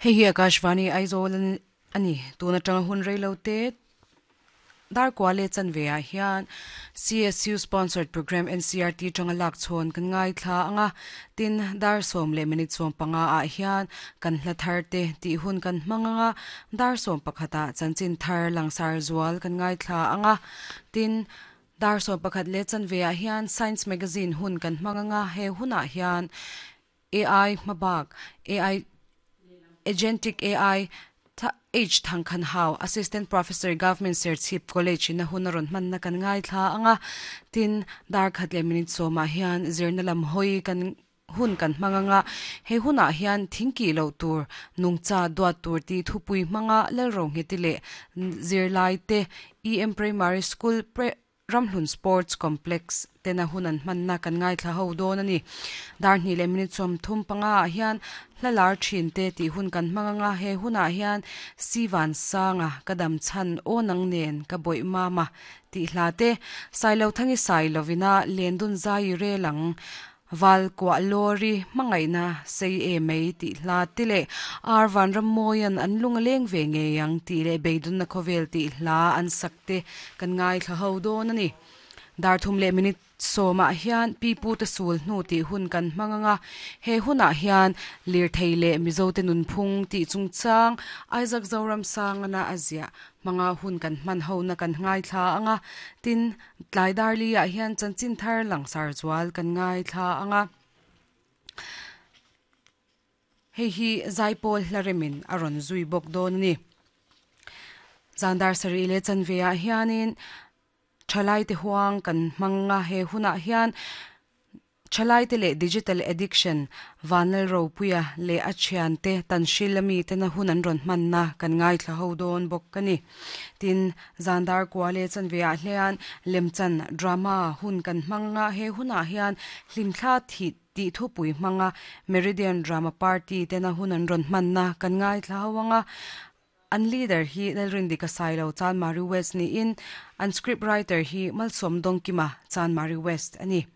Hei hi Akashvani Aizawl a ni. Tun atanga hun reilo te dar kua leh chanve ah hian CSU sponsored programme NCERT tanga lak chhawn kan ngaithla ang a, tin dar sawm leh minute 15 ah hian kan hla thar te tih hun kan hmang ang a, dar 11 ah chanchin thar langsar zual kan ngaithla ang a, tin dar 11 leh chanve ah hian science magazine hun kan hmang ang a, he hunah hian AI hmabak, AI, Agentic AI, H Thangkhan Hau, Assistant Professor, Government Serchhip College in a hun a rawn hmanna kan ngaithla ang a, tin dar khat leh minute sawmah hian zirna lam hawi kan hun kan hmang ang a, he hunah hian thingkih loh tur, nungcha duat tur tih thupui hmanga Lalrohngheti leh zirlaite EM Primary School Ramhlun Sports Complex tena hun an hmanna kan ngaithla ho dawn a ni. Dar hnih leh minute 35 ah hian hla lar thin te tih hun kan hmang anga he hunah hian Sivan Sanga ka dam chhan aw nang nen ka bawih mama tih hla te Sailothangi Sailovina Lendun Zai rel ang Val kuah lawri hmangaihna sei e mai tih hla te leh Ar Vanrammawian an lung a leng ve ngei ang tih leh Beidunna khawvel tih hla an sak te kan ngaithla ho dawn a ni. Dar thum leh minute sawmah hian Pi Pute sul hnu tih hun kan hmang ang a, he hunah hian lirthei leh Mizote nunphung tih chungchang Isaac Zoramsangana a ziah hmanga hun kan hman hona kan ngaithla ang a, tin Tlai darli ah hian chanchin thar langsar zual kan ngaithla ang a, hei hi zaipawl hla remin a rawn zui bawk dawn a ni. Zan dar sarih leh chanve ah hianin thalai te huang kan hmang a, he hunah hian Thalaite leh Digital Addiction, Vanlal Ropuia leh a thiante Tanhril ami tena hun an rawn hmanna kan ngaithla ho dawn bawk a ni. Tin, Zandar kua leh chanve ah hlian lemchan, drama, hun kan hmang a, he hunah hian hlimthla thih tih thupui hmanga Meridian Drama Party tena hun an rawn hmanna kan ngaithla ho ang a. An leader hi Lalrindika Sailo, Chanmari West niin an script writer hi Malsawm Dawngkima, Chanmari West a ni.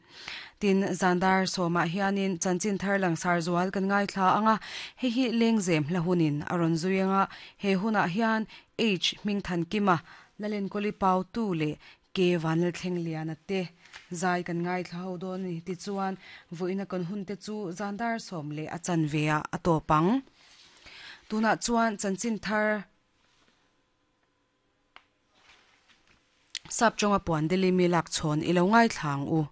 Tin, Zandar sawmah hianin chanchin thar langsar zual kan ngaithla ang a, hei hi Lengzem hla hunin a rawn zui ang a, he hunah hian H Hmingthankima, Lalenkawli Pautu leh K Vanlalthlengliana te zai kan ngaithla ho dawn a ni. Tichuan, vawiina kan hunte chu Zandar sawm leh a chanve ah a tawp ang. Tunah chuan chanchin thar sap tawnga puan Delhi mi lak chhawn i lo ngaithla ang u.